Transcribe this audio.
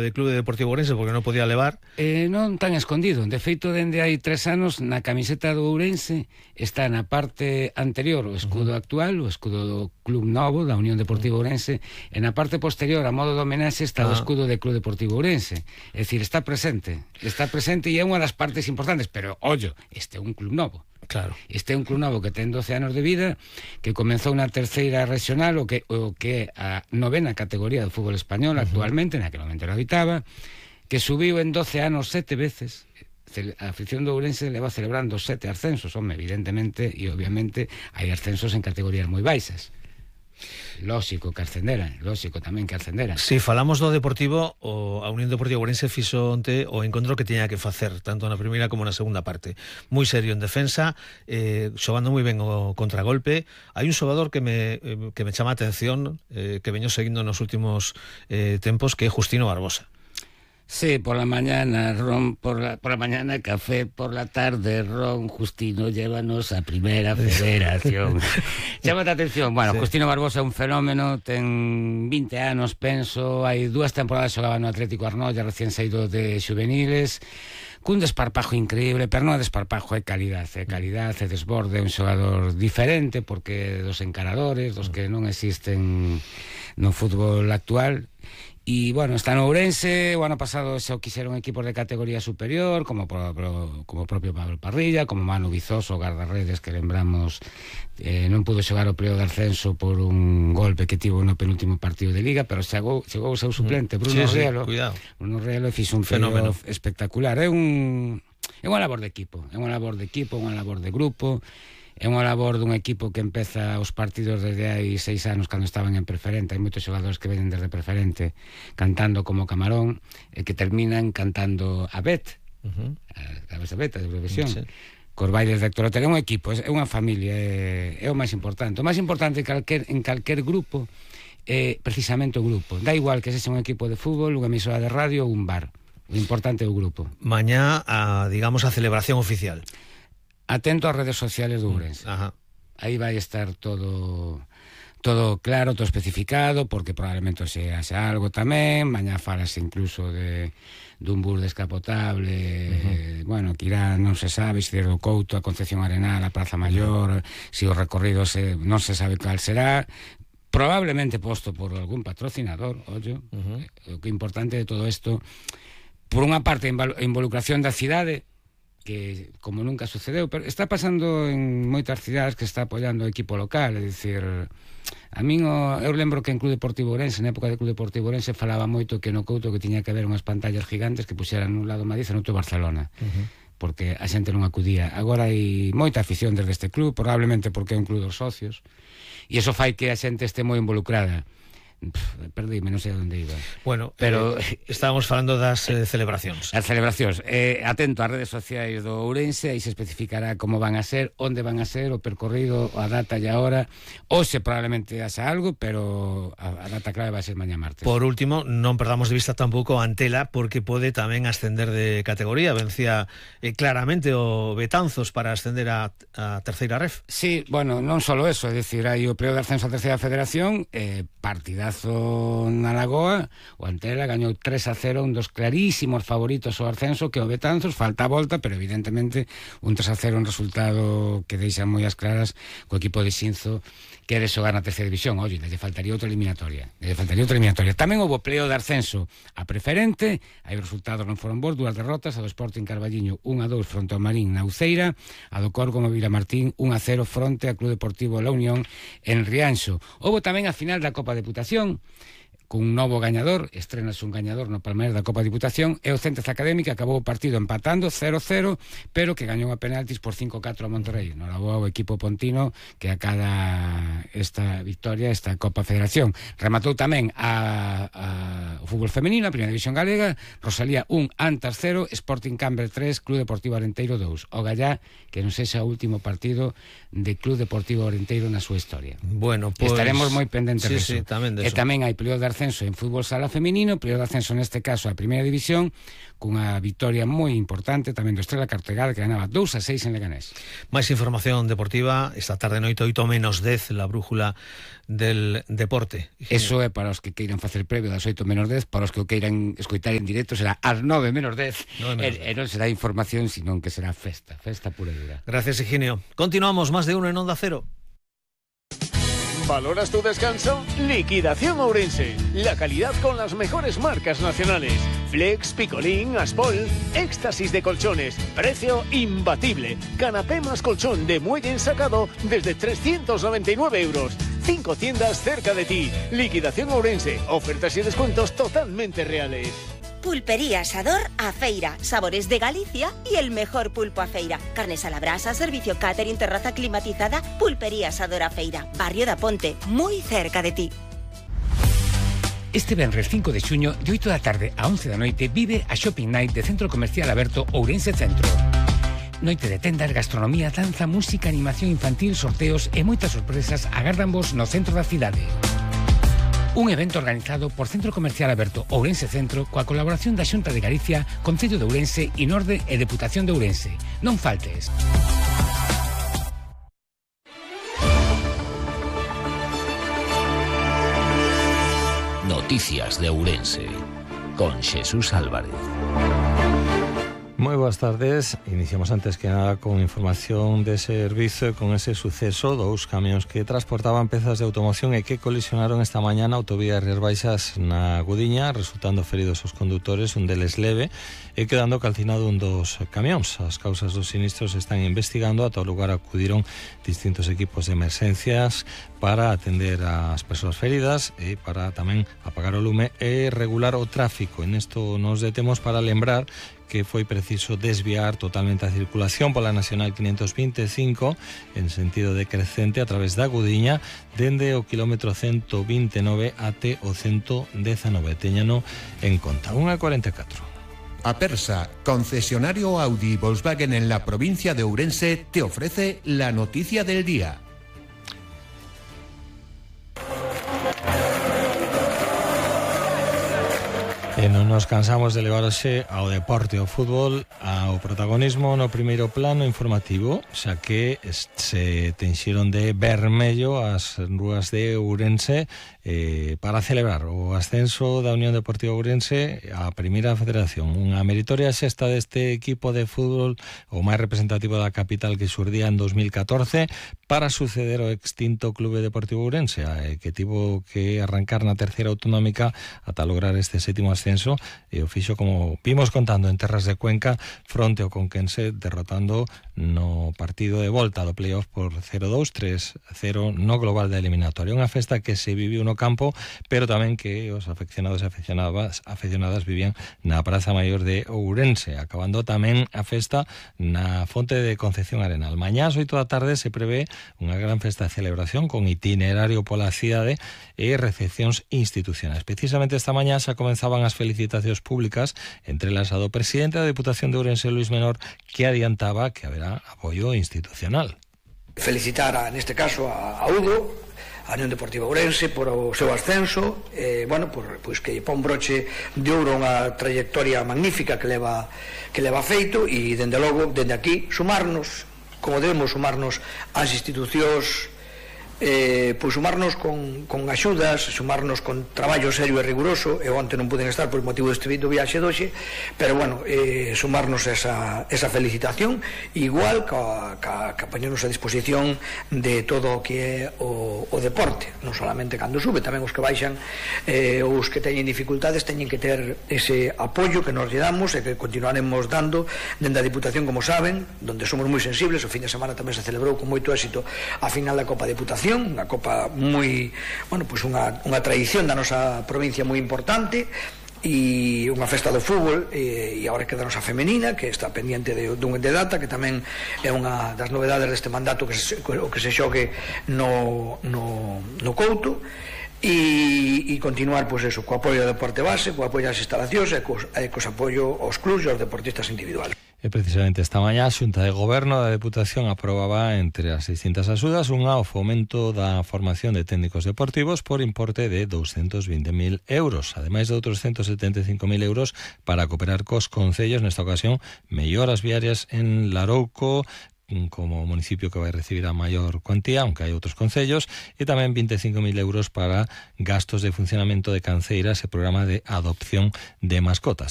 de Clube Deportivo Ourense porque non podía levar. Non tan escondido. De feito, dende hai 3 anos, na camiseta do Ourense está na parte anterior o escudo actual, o escudo do Club Novo, da Unión Deportiva Ourense, e na parte posterior, a modo de homenaxe, está o escudo de Club Deportivo Ourense. É dicir, está presente e é unha das partes importantes, pero, ollo, este é un club novo. Claro. Este é un club novo que ten 12 anos de vida, que comenzou na terceira regional, o que é a 9ª categoría do fútbol español actualmente, naquele momento non habitaba, que subiu en 12 anos 7 veces. A afición do Ourense leva celebrando 7 ascensos, evidentemente, e obviamente hai ascensos en categorías moi baixas. Lóxico que ascenderan, lóxico tamén que ascenderan. Si falamos do Deportivo, a Unión Deportiva Ourense fixo onte o encontro que tiña que facer, tanto na primeira como na segunda parte. Moi serio en defensa, xogando moi ben o contragolpe. Hai un xogador que me chama a atención, que veño seguindo nos últimos tempos, que é Justino Barbosa. Sí, por la mañana ron, por la mañana café, por la tarde ron. Justino, llévanos a Primera Federación. Chámate a atención. Bueno, sí. Justino Barbosa é un fenómeno, ten 20 anos, penso, hai 2 temporadas xogaba no Atlético Arnoia, recién saído de juveniles, cun desparpajo increíble, pero non é desparpajo, é calidad, é desborde, é un xogador diferente, porque dos encaradores, dos que non existen no fútbol actual. E, bueno, está no Ourense. O ano pasado xa quixeron equipos de categoría superior, como propio Pablo Parrilla, como Manu Vizoso, guardarredes, que lembramos non pudo xogar o período de ascenso por un golpe que tivo no penúltimo partido de Liga, pero chegou o seu suplente, Bruno Rielo. Bruno Rielo fixo un fenómeno espectacular. É unha labor de equipo, unha labor de grupo. É unha labor dun equipo que empeza os partidos desde hai 6 anos, cando estaban en preferente. Hai moitos xogadores que venen desde preferente cantando como Camarón, e que terminan cantando a Bet, a Bet de Eurovisión, cos bailes de Héctor Otero. É un equipo, é unha familia, é o máis importante. O máis importante en calquer grupo é precisamente o grupo. Da igual que sexa un equipo de fútbol, unha emisora de radio ou un bar. O importante é o grupo. Mañá, digamos, a celebración oficial. Atento ás redes sociales do Ourense. Aí vai estar todo claro, todo especificado, porque probablemente se haxe algo tamén. Mañá falase incluso dun bus descapotable, bueno, que irá, non se sabe, se do Couto a Concepción Arenal, a Praza Maior, se o recorrido non se sabe cal será, probablemente posto por algún patrocinador, ollo. O que é importante de todo isto, por unha parte, a involucración da cidade, que como nunca sucedeu, pero está pasando en moitas cidades, que está apoiando o equipo local. É dicir, a min eu lembro que en Club Deportivo Ourense, na época de Club Deportivo Ourense, falaba moito que no Couto que tiña que haber unhas pantallas gigantes que puxeran nun lado Madrid e noutro Barcelona, porque a xente non acudía. Agora hai moita afición desde este club, probablemente porque é un club dos socios, e iso fai que a xente este moi involucrada. Perdíme, non sei onde iba. Bueno, pero estábamos falando das celebracións. As celebracións. Atento ás redes sociais do Ourense, aí se especificará como van a ser, onde van a ser, o percorrido, a data e a hora. Hoxe probablemente haxa algo, pero a data clave vai ser mañá martes. Por último, non perdamos de vista tampouco a Antela, porque pode tamén ascender de categoría. Vencía claramente o Betanzos para ascender a terceira ref. Sí, bueno, non só eso, é dicir, hai o período de ascenso a terceira federación, partidazo na Lagoa. O Antela gañou 3-0, un dos clarísimos favoritos ao ascenso, que o Betanzos. Falta a volta, pero evidentemente un 3-0 un resultado que deixa moi as claras co equipo de Xinzo quere xogar na terceira división. Oye, lle faltaría outra eliminatoria. Tamén houve pleo de ascenso a preferente, aí os resultados non foron bons, 2 derrotas, a do Sporting Carballiño 1-2 fronte ao Marín na Uceira, a do Corgo no Vilamartín 1-0 fronte ao Club Deportivo La Unión en Rianxo. Houve tamén a final da Copa Deputación, cun novo gañador, estrenase un gañador no Palmeiras da Copa Diputación, e o Centres Académica acabou o partido empatando 0-0, pero que gañou a penaltis por 5-4 a Monterrey. Noraboa o equipo pontino que acada esta victoria, esta Copa Federación. Rematou tamén o fútbol femenino, a Primeira División Galega, Rosalía 1, Antas 0, Sporting Cambre 3, Club Deportivo Arenteiro 2. O Gallá, que non sexa o último partido de Club Deportivo Arenteiro na súa historia. Bueno, pues, estaremos moi pendentes de eso. E tamén hai período de ascenso en fútbol sala feminino, período de ascenso neste caso a primeira división, cunha victoria moi importante tamén do Estrela Cartegada, que ganaba 2-6 en Leganés. Máis información deportiva esta tarde noite 8:10, la brújula del deporte. Eso é para os que queiran facer previo das 8:10, para os que o queiran escoitar en directo será ás 9:10, e non será información, senón que será festa pura e dura. Gracias, Higinio. Continuamos, más de uno en Onda Cero. ¿Valoras tu descanso? Liquidación Ourense. La calidad con las mejores marcas nacionales. Flex, Picolín, Aspol, éxtasis de colchones. Precio imbatible. Canapé más colchón de muelle ensacado desde 399 euros. 5 tiendas cerca de ti. Liquidación Ourense. Ofertas y descuentos totalmente reales. Pulpería Asador A Feira, sabores de Galicia y el mejor pulpo a feira. Carnes a la brasa, servicio catering, terraza climatizada. Pulpería Asador A Feira, barrio da Ponte, muy cerca de ti. Este venres 5 de xuño, de 8 da tarde a 11 da noite, vive a Shopping Night de Centro Comercial Aberto Ourense Centro. Noite de tendas, gastronomía, danza, música, animación infantil, sorteos e moitas sorpresas agárdanvos no centro da cidade. Un evento organizado por Centro Comercial Aberto Ourense Centro coa colaboración da Xunta de Galicia, Concello de Ourense, Inorde e Deputación de Ourense. Non faltes. Noticias de Ourense con Xesús Álvarez. Moi boas tardes. Iniciamos antes que nada con información de servizo e con ese suceso. 2 camións que transportaban pezas de automoción e que colisionaron esta mañá na autovía Rías Baixas na Gudiña, resultando feridos os condutores, un deles leve, e quedando calcinado un dos camións. As causas dos sinistros se están investigando. A todo lugar acudiron distintos equipos de emerxencias para atender as persoas feridas e para tamén apagar o lume e regular o tráfico. En isto nos detemos para lembrar que foi preciso desviar totalmente a circulación pola Nacional 525 en sentido decrecente a través da Gudiña dende o kilómetro 129 até o 119. Téñano en conta. 1:44. Apersa, concesionario Audi y Volkswagen en la provincia de Ourense, te ofrece la noticia del día. E non nos cansamos de levar hoxe ao deporte, ao fútbol, ao protagonismo no primeiro plano informativo, xa que se tenxiron de vermello as rúas de Ourense para celebrar o ascenso da Unión Deportiva Ourense á Primeira Federación. Unha meritoria xesta deste equipo de fútbol, o máis representativo da capital, que xurdía en 2014 para suceder ao extinto Clube Deportivo Ourense, que tivo que arrancar na terceira autonómica ata lograr este sétimo ascenso, e o fixo, como vimos contando, en terras de Cuenca fronte ao Conquense, derrotando no partido de volta do playoff por 0-2, 3-0 no global da eliminatoria. Unha festa que se viviu no campo, pero tamén que os afeccionados e afeccionadas vivían na Praza Maior de Ourense, acabando tamén a festa na Fonte de Concepción Arenal. Mañá ás 8 da tarde se prevé unha gran festa de celebración con itinerario pola cidade e recepcións institucionais. Precisamente esta mañá xa comenzaban as felicitacións públicas, entre elas a do presidente da Deputación de Ourense, Luis Menor, que adiantaba que haberá apoio institucional. Felicitar, neste caso, a Udo, a Unión Deportiva Ourense, por o seu ascenso, pois que pon broche de ouro unha trayectoria magnífica que leva feito, e dende logo, dende aquí, sumarnos, como debemos sumarnos ás institucións, pois sumarnos con axudas, sumarnos con traballo serio e riguroso. Eu onte non puden estar por motivo deste viaxe doxe, pero sumarnos esa felicitación, igual que poñernos a disposición de todo o que é o deporte, non solamente cando sube, tamén os que baixan, os que teñen dificultades teñen que ter ese apoio que nos lle damos e que continuaremos dando dende a Diputación, como saben, donde somos moi sensibles. O fin de semana tamén se celebrou con moito éxito a final da Copa Deputación, unha copa moi, pois unha tradición da nosa provincia moi importante, e unha festa do fútbol, e agora quedanos a femenina, que está pendiente de data, que tamén é unha das novedades deste mandato, que se xogue no Couto. e continuar, pois eso, co apoio ao deporte base, co apoio ás instalacións e cos apoio aos clubs e aos deportistas individuales. E precisamente esta mañá a Xunta de Goberno da Deputación aprobaba entre as 600 axudas unha ao fomento da formación de técnicos deportivos por importe de 220.000 euros, ademais de outros 175.000 euros para cooperar cos concellos, nesta ocasión melloras viarias en Larouco como municipio que vai recibir a maior cuantía, aunque hai outros concellos, e tamén 25.000 euros para gastos de funcionamento de canceiras e programa de adopción de mascotas.